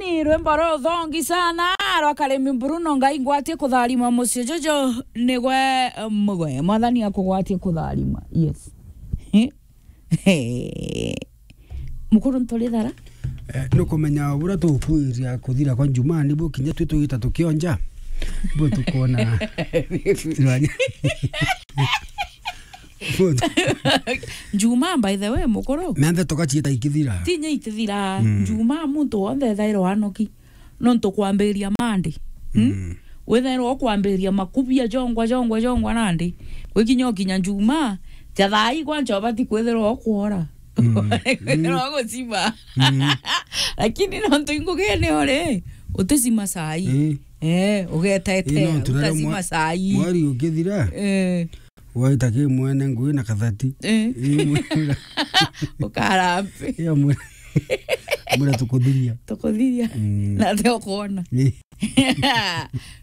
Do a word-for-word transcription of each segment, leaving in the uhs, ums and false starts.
Ni rwimbo ruthongi sana rwa Karimi Bruno, Ngai ngwatie kutharima mucii juju nigwe, eh, mugwe. Mwathani akugwatie kutharima. Yes. Mukuru nturi thara? Eh, nukumenya buria tukwiria kuthira kwa Njumaa, nibu kinya twi twigita tukionja. Bu tukwona. Njumaa, by the way, mukuru. Menthe tugaciita ikithira. Ti inya itithira. Mm. Njumaa muntu wonthe ethairwa anoki. Nontu kwambiriria Monday. Hmm? Mm. Withairwa ukwambiriria makubia jongwa, jongwa, jongwa nandi. Gwikinya ukinya Njumaa, ja thaa ii kwancha ubati kwithirwa ukwora. Mm. Kwithirwa gucima. Mm. Lakini nontu ingugine uri, uticima saa ii. Eh. Eh, ugetetea, eh, no, tunaria utacima mwa-, saa ii. Mweri ukithira. Eh. Waita ki mwene ngui na kathati. Eh. Ii mwira. Ukarambe. Ii mwira. Mwira tukuthiria. Tukuthiria. Mm. Na te ukwona. Ii.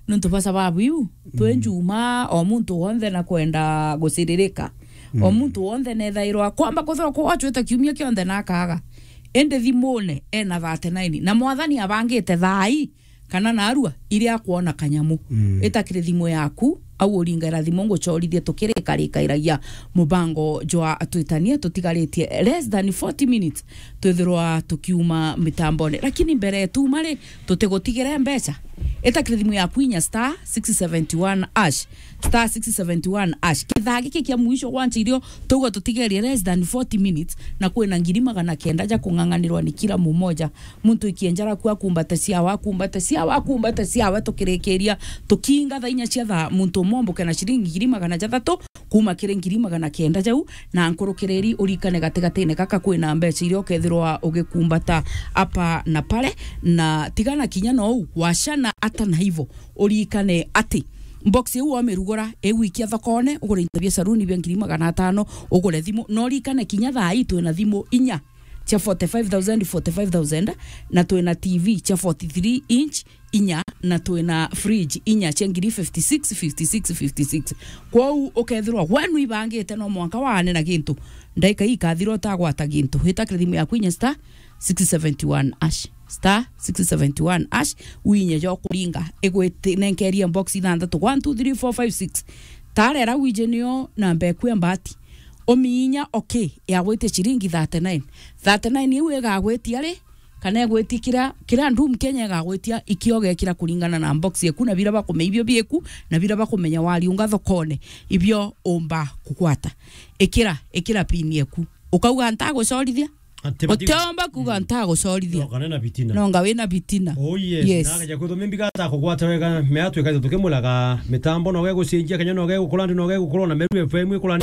Nontu bwa sababu iu, twi, mm, Njumaa, o muntu wonthe na kwenda guciririka. O, mm, muntu wonthe nethairwa kwamba kwithirwa kwachwite kiumia kionthe na akaga. Indi thimune ena thirty-nine. Na Mwathani abangite thaa ii kana narua iria akwona kanyamu. Mm. Ita kiri thimu yaku, au uringaira thimu nguchorithie tukirikarikairagia mubango jwa twitanie tutigaritie less than forty minutes twithirwa tukiuma mitambone. Lakini mbere tuma ri, tutigutigire mbeca. Ita kiri thimu yaku inya star six seventy one hash. Star six seventy one hash. Kithaa giki kia mwisho gwancha irio tugwa tutigerie less than forty minutes na kwina ngiri magana kenda ja kung'ang'anirwa ni kila mumoja. Muntu ikienjara ku akumbata ciawa, akumbata ciawa, akumbata ciawa, tukirikiria, tukiinga thaa inya cia thaa, muntu umwe omboke na ciringi ngiri magana jathatu, kuma kiri ngiri magana kenda jau, na nkurukiriri urikane gatigatine gaka kwina mbeca iria ukethirwa ugikumbata apa na pale, na tigana kinya nou, wachana ata na hivo, urikane ati box iu wamirugura, iwikia thokone, ugure into bia saruni bia ngiri magana atano, ugure thimu, na urikane kinya thaa ii twina thimu inya cia forty-five thousand, forty-five thousand, na twina T V cia forty-three inch inya, na twina fridge inya cia ngiri fifty-six, fifty-six, fifty-six. Kwou ukethirwa we nwibangite no mwanka waane na gintu, ndaika ii ikathira utagwata gintu. Wita kiri thimu yaku inya star six seventy one hash. Star six seventy one hash, winye jo kuringa, igwiti-, nenkerie box ithanthatu, one, two, three, four, five, six. Tarera wije nio namba eku ya mbati. Umiinya, okay, yagwitie ciringi thirty-nine. Thirty-nine iu igagwitia ri? Kana igwitia kira, kira Ndum Kenya igagwitia, ikio ugekira kuringana na box yaku, na bira bakumenya ibio bieku, na bira bakumenya wariunga thokone, ibio umba kugwata. Ikira, ikira pin yaku. Ukauga, "Ntagucorithia." Ati bati- Utiomba kuga, "Ntagucorithia." No, kana na bitina. No, nga wina bitina. Oh, yes. Yes. Na akaja kwithwa mimbi gata kugwata wega, meatwika tukimulaga mitambo, no gegucenjia, kenya no gegukura, ndi no gegukura, na Meru F M ikura.